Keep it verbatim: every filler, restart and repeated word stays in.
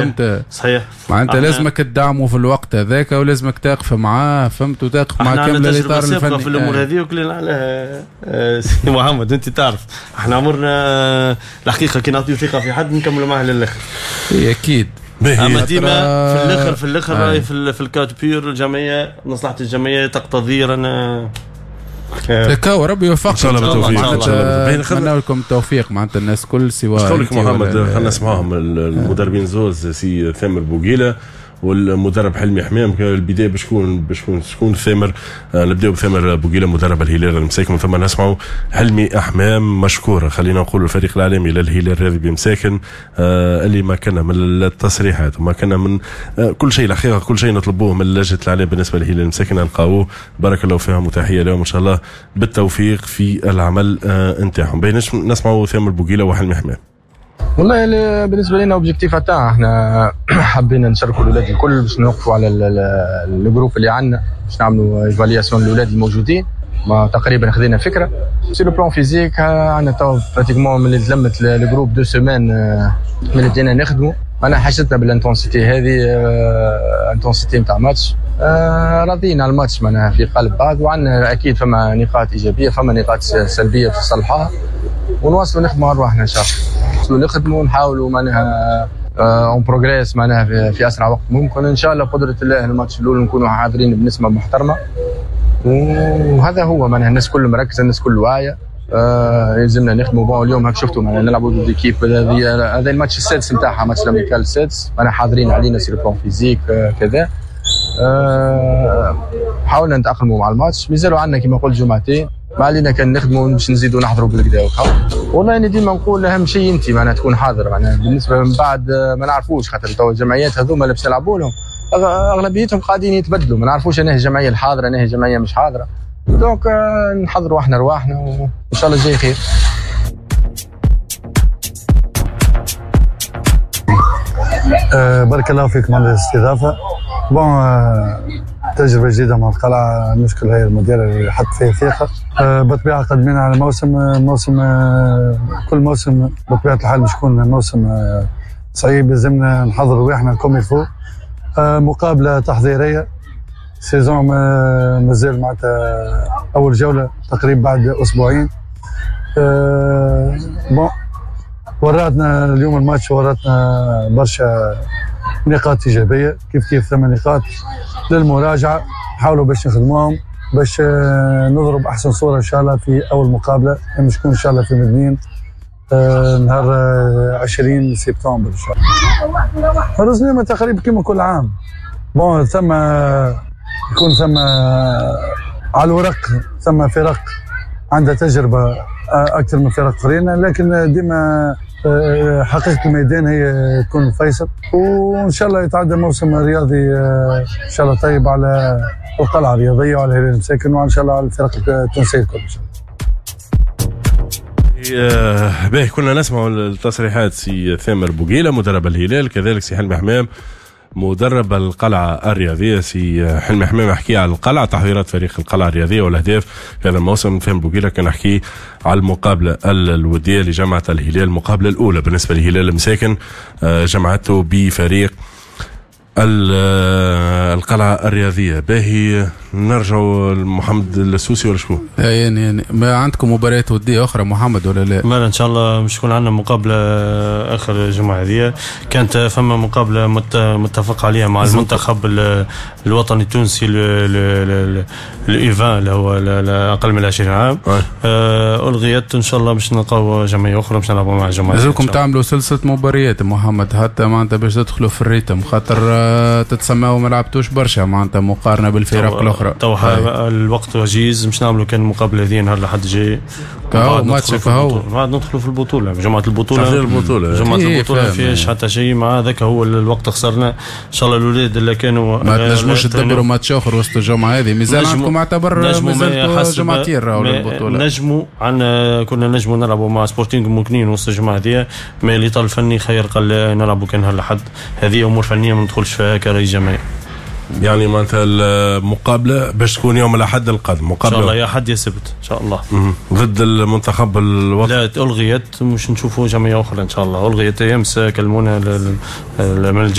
فهمت؟ صحيح. معناتها لازمك تدعمه في الوقت هذاك ولازمك تقف معاه، فهمت، وتقف مع كامل الاطار الفني في الامور هذه وكلنا عليها. سي محمد انت تعرف احنا عمرنا الحقيقة كي نعطيو ثقة في حد نكملوا معاه للاخر. اكيد. اما ديما في الاخر في الاخر راهي في, في ال cas de figure الجمعية، مصلحة الجمعية تقتضي رانا تكاو. ربي يوفقك ان شاء الله بالتوفيق. ان شاء الله نتمنى لكم التوفيق معناتها الناس كل سواء. قولك محمد خلينا نسمعهم المدربين زوز، سي ثامر بوقيله والمدرب حلمي حمام. البداية باش تكون باش تكون ثامر، نبداو بثامر بوقيله مدرب الهلال المساكن، ثم نسمعوا حلمي حمام. مشكور خلينا نقول الفريق الاعلامي للهلال الرياضي بمساكن اللي ما كنا من التصريحات وما كنا من كل شيء، الحقيقة كل شيء نطلبوه من لجنة الاعلام بالنسبة للهلال المساكن نلقاوه. بارك الله فيهم وتحية لهم ان شاء الله بالتوفيق في العمل نتاعهم. نسمعوا ثامر بوقيله وحلمي حمام. والله بالنسبة لنا objectif تاعنا احنا حبينا نشاركوا الاولاد الكل باش نوقفوا على ال groupe اللي عندنا، باش نعملوا évaluation للاولاد الموجودين. ما تقريبا خذينا فكرة sur le plan physique. عندنا تو pratiquement من اللي تلمت ال groupe deux semaines من اللي بدينا نخدموا، انا حاجتنا بال intensité هذه، intensité نتاع ماتش. راضيين على الماتش معناها في قلب بعض، وعندنا اكيد فما نقاط ايجابية فما نقاط سلبية في صلحها، ونواصلوا نخدموا على رواحنا ان شاء الله. نخدموا ونحاولوا معناها on progresse معناها في, في اسرع وقت ممكن ان شاء الله بقدره الله. الماتش الاول نكونوا حاضرين بنسبة محترمه، وهذا هو معناها الناس كل مركزه، الناس كل واعية. آه يلزمنا نخدموا. bon اليوم هاك شفتوا معناها نلعبوا ضد équipe، هذا الماتش السادس نتاعها، match amical السادس، معناها حاضرين علينا sur plan physique آه كذا. آه حاولنا نتاقلموا مع الماتش، مازالوا عندنا كما قلت جمعتين، ما علينا كان نخدموا باش نزيدوا نحضروا بالكدا. والله انا ديما نقول اهم شيء انت معناها تكون حاضر، معناها بالنسبة من بعد ما نعرفوش، خاطر تو الجمعيات هذوما اللي باش نلعبوا لهم اغلبيتهم قاعدين يتبدلوا، ما نعرفوش انا هي الجمعية الحاضرة انا هي الجمعية مش حاضره. donc نحضروا احنا رواحنا وان شاء الله الجاي خير. أه بارك الله فيكم على الاستضافة. bon أه تجربة جديدة مع القلعة، نشكر الهيئة المديرة اللي حط فيها ثقة. أه بالطبيعة قدمنا على موسم موسم أه كل موسم بطبيعة الحال باش يكون موسم أه صعيب، لازمنا نحضر رواحنا comme il faut. أه مقابلة تحضيرية، saison مازال معناتها أول جولة تقريبا بعد أسبوعين. أه bon وراتنا اليوم الماتش، وراتنا برشا نقاط إيجابية، كيف كيف ثمان نقاط للمراجعة، نحاولوا باش نخدموهم باش نضرب أحسن صورة إن شاء الله في أول مقابلة باش تكون إن شاء الله في مدنين نهار عشرين سبتمبر إن شاء الله. الرزنامة تقريبا كما كل عام، bon ثم يكون ثم على الورق ثم فرق عندها تجربة أكثر من فرق أخرين، لكن ديما حقيقة الميدان هي تكون فيصل، وإن شاء الله يتعدى موسم رياضي إن شاء الله طيب على القلعة الرياضية وعلى الهلال المساكن وإن شاء الله على الفرق التونسية الكل إن شاء الله. باهي كنا نسمع التصريحات سي ثامر بوقيلة مدرب الهلال، كذلك سي حلمي حمام مدرب القلعة الرياضية. سي حلمي حمام حكي على القلعة، تحضيرات فريق القلعة الرياضية والأهداف في هذا الموسم. ثامر بوقيلة كان حكي على المقابلة الودية لجامعة الهلال، المقابلة الأولى بالنسبة للهلال المساكن جمعته بفريق القلعة الرياضية. باهي نرجع لمحمد السوسي ولا شكون؟ يعني يعني ما عندكم مباريات ودية أخرى محمد ولا لا؟ ما إن شاء الله مش يكون عندنا مقابلة آخر الجمعة هذه. كانت فما مقابلة متفق عليها مع المنتخب الوطني التونسي ال U vingt اللي هو أقل من عشرين عام، ألغيت. إن شاء الله باش نلقاو جمعية أخرى باش نلعبوا مع جمعية. لازمكم تعملوا سلسلة مباريات محمد حتى معناتها باش تدخلوا في ال rythme، خاطر تتسماو ما لعبتوش برشا معناتها مقارنة بالفرق الأخرى. تو الوقت وجيز مش نعملوا كان المقابلة هذه نهار الأحد الجاي. كهو ماتش كهو بعد ندخلوا في البطولة، جمعه البطولة البطولة جمعه البطولة ما فيهاش حتى شيء، مع ذاك هو الوقت خسرنا. ان شاء الله الاولاد اللي كانوا ما تنجموش تدبروا ماتش اخر وسط الجمعة هذه، مازال عندكم اعتبر مازال جمعتين راهو للبطولة. نجموا عندنا كنا نجموا نلعبوا مع سبورتينغ ممكنين وسط الجمعة هذه، mais الاطار الفني خير قال نلعبوا كان نهار الاحد. هذه امور فنية ما ندخلش فيها كرئيس جمعية. يعني معناتها المقابلة باش تكون يوم الاحد القادم. مقابله ان شاء الله، يا حد يا سبت ان شاء الله. ضد المنتخب الوطني. لا، الغيت، مش نشوفوا جمعية اخرى ان شاء الله. الغيت امس، كلمونا من